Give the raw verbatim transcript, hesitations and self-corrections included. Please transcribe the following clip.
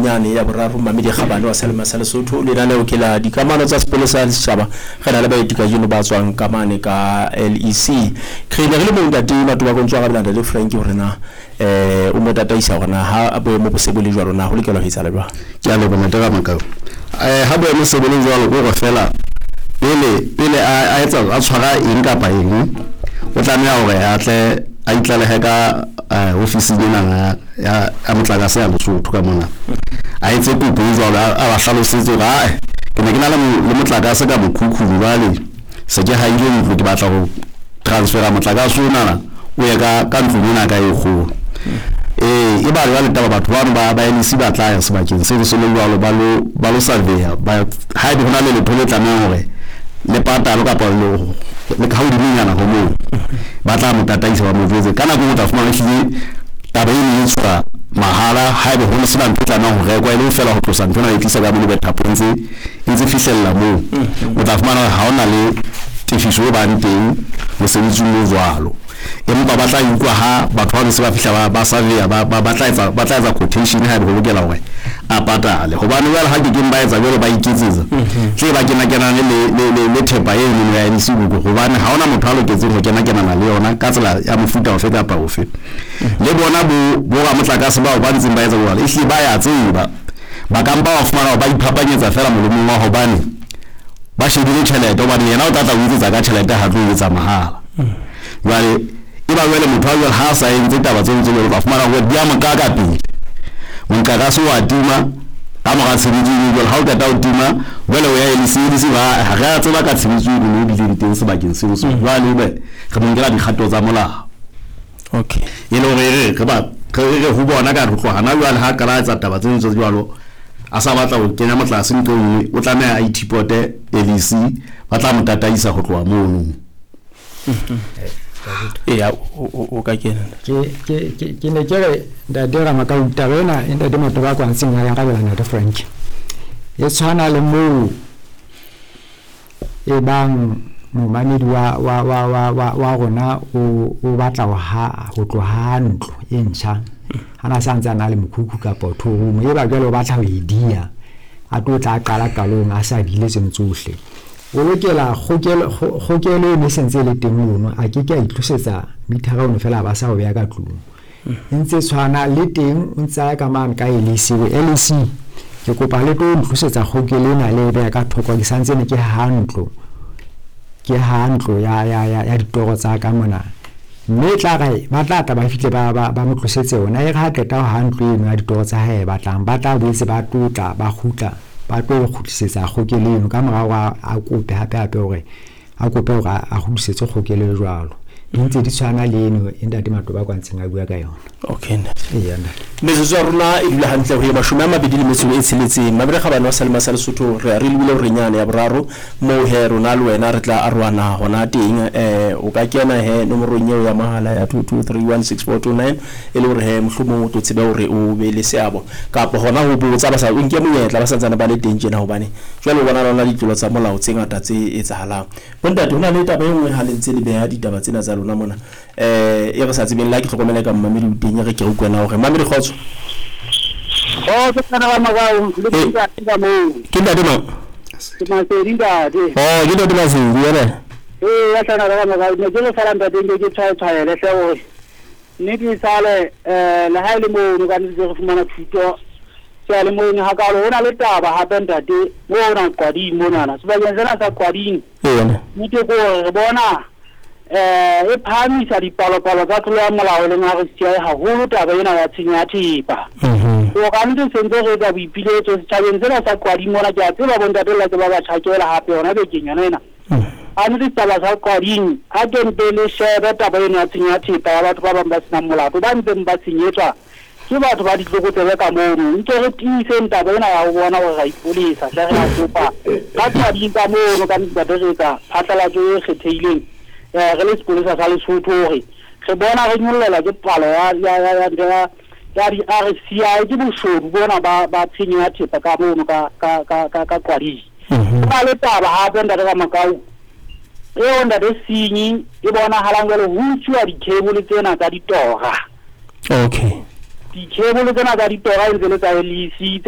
nyane ya boraro Mamedi Kgabane wa Selema sa Lesotho lenaneo ke la dikamano tsa sepolesa le setjhaba. Re na le baeti kajeno ba tswang ka mane ka L E C. Re ne re le moo ntate Matoba ko ntso arabela ntate Frank hore na eh o mo tataisa hore na ha boemo bo se bo le jwalo na ho lokela ho etsahala jwang. Ke a leboha ntate Ramakau. Eh ha boemo se bo le jwalo ko re fela pele pele a etsa a tshwara eng kapa eng o tlameha hore a tle a itlalehe ka ofising ena ya ya motlakase ya Lesotho ka mona. A etse kopo e jwalo a ba hlalosetse hore ae ke ne ke na le motlakase ka mokhukhung jwale se ke haile ntlo ke batla ho transfera motlakase ona o ye ka ka ntlong ena ka e kgolo. Eh e ba jwale taba batho bano ba ba L E C ba tla ya sebakeng seo se le jwalo ba lo ba lo surveya ba ha ebe hona le letho le tlamehang hore le patalo kapa le le ka hodimonyana ho moo ba tla mo tataisa ba mo jwetse ka nako o tla fumana ehlile taba eno e tswa mahala ha ebe ho sena ntho e tlamehang ho rekwa e le feela ho tlosa ntho ena e tlisa ka mono bethapong tse e ntse fihlella moo o tla fumana hore ha hona le tefiso e bang teng mosebetsing o jwalo. Empa ba tla utlwa ha batho ba se ba fihla ba ba surveya ba ba tla etsa ba tla etsa quotation ha ebe ho lokela hore a patale hobane jwale ha ke keng ba etsa jwalo ba iketsetsa tle ba kena kenane le le le thepa e nngwe ya L E C hobane ha hona motho a loketseng ho kena kenana le yona ka tsela ya mofuta ofe kapa ofe. Le bona bo bo ramotlakase bao ba ntseng ba etsa jwalo ehlile ba ya tseba ba ka mpa ba fumana ba iphapanyetsa fela molomong wa hobane ba shebile tjhelete hobane yena o tla tla o etsetsa ka tjhelete ha tlo etsa mahala. Jwale e ba jwale motho a jwale ha a sa entse taba tseo tse jwalo ba fumana hore di a mo kaka pele motlakase wa tima ka mora tshebetso eno jwale ha o qeta ho tima jwale o ya L E C L E C ba ha re a tseba ka tshebetso eno e bileng teng sebakeng seo so jwale ebe re mo nkela dikgato tsa molao. Okay e le hore re re ba re re ho bona ka re tloha hana jwale ha qala etsa taba tseno tse jwalo a sa batla ho kenya motlakase ntho e nngwe o tlameha a ithipote L E C ba tla mo tataisa ho tloha mono. Eya o ka kena ke ke ke ne ke re ntate Ramakau taba ena e ntate Matoba kwa ntseng ya arabela ntate Frank e tshwana le moo e bang momamedi wa wa wa wa wa wa rona o o batla ho ha ho tloha ntlo e ntjha hana sa ntse a na le mokhukhu kapa two room e ba jwale o batla ho e dia a tlo tla qala qalong a sa dile tseno tsohle o lokela kgokelo kgokelo e ne sentse le teng mono a ke ke a itlosetsa mithara ono fela ba sa o beha ka tlung e ntse tshwana le teng o ntse a ya ka mane ka L E C L E C ke kopa le tlo ntlosetsa kgokelo ena le e beha ka thoko ke santse ne ke ha ntlo ke ha ntlo ya ya ya ya ditoro tsa ka mona mme tla re ba tla tla ba fihle ba ba ba mo tlosetse yona e re ha qeta ho ha ntlo eno ya ditoro tsa hae batlang ba tla boetse ba tlotla ba kgutla ba tlo kgutlisetsa kgokelo eno ka morao a kope hape hape hore a kope hore a kgutlisetse kgokelo e jwalo di ntse di tshwana le eno e ntate Matoba kwa ntseng a bua ka yona. Okay eya ntate metsotso ya rona e dula hantle ho ye mashome a mabedi le metso e tsheletseng Mabedi Kgabane wa Selema sa Lesotho re re lebile hore nyane ya boraro moo he rona le wena re tla arohana hona teng eh o ka kena he nomorong eo ya mahala ya two two three one six four two nine e le hore he mohlomong o tlo tsebe hore o be le seabo kapa hona ho botsa ba sa o nke monyetla ba santsane ba le teng tjena hobane jwale o bona lona ditlolo tsa molao tse ngata tse etsahalang. Bontate hona le taba e nngwe ha le ntse le beha ditaba tsena tsa lona mona eh e re sa tsebeng la ke hlokomele ka mmamedi o teng re ke re utlwana hore mmamedi kgotso. Oh ke tsana ba makao le ke ka moo ke ntate mang ke Masedi ntate. Oh ke ntate Masedi yena eh ya tsana ba makao ne ke le fela ntate ke ke tshwae tshwaele hle hore nnete e sale eh le ha ile mono ka ntse re fumana thuto ke le mono ha ka ho na le taba hape ntate mo na Qwading monana sebakeng sena sa Qwading yena nnete ko re bona eh e phahamisa dipalopalo tsa tlolo ya molao le R C I haholo taba ena ya tshenyo ya thepa. O ka ntse sentse re etsa boipiletso setjhabeng sena sa Qwading mona ke a tseba bontate le tseba ba tjhakela hape yona bekeng yona ena. A ntse setjhaba sa Qwading a ke mpe le shebe taba ena ya tshenyo ya thepa ya batho ba bang ba senang molato ba ntseng ba senyetswa ke batho ba ditlokotsebe ka mono ntse re tiiseng taba ena ya ho bona hore ra ipolesa hle re a kopa ka Qwading ka mono ka ntate re etsa phatlalatso e kgethehileng eh re le sepolesa sa Lesotho hore re bona re nyollelwa ke palo ya ya ya ya ya di R C I ke boshodu bona ba ba tshenyo ya thepa ka mono ka ka ka ka ka Qwading. Ba le taba hape ntate ka Makau eo ntate senyi e bonahalang jwale ho utswa di-cable tsena tsa ditora. Okay di-cable tsena tsa ditora e ntse le tsa L E C.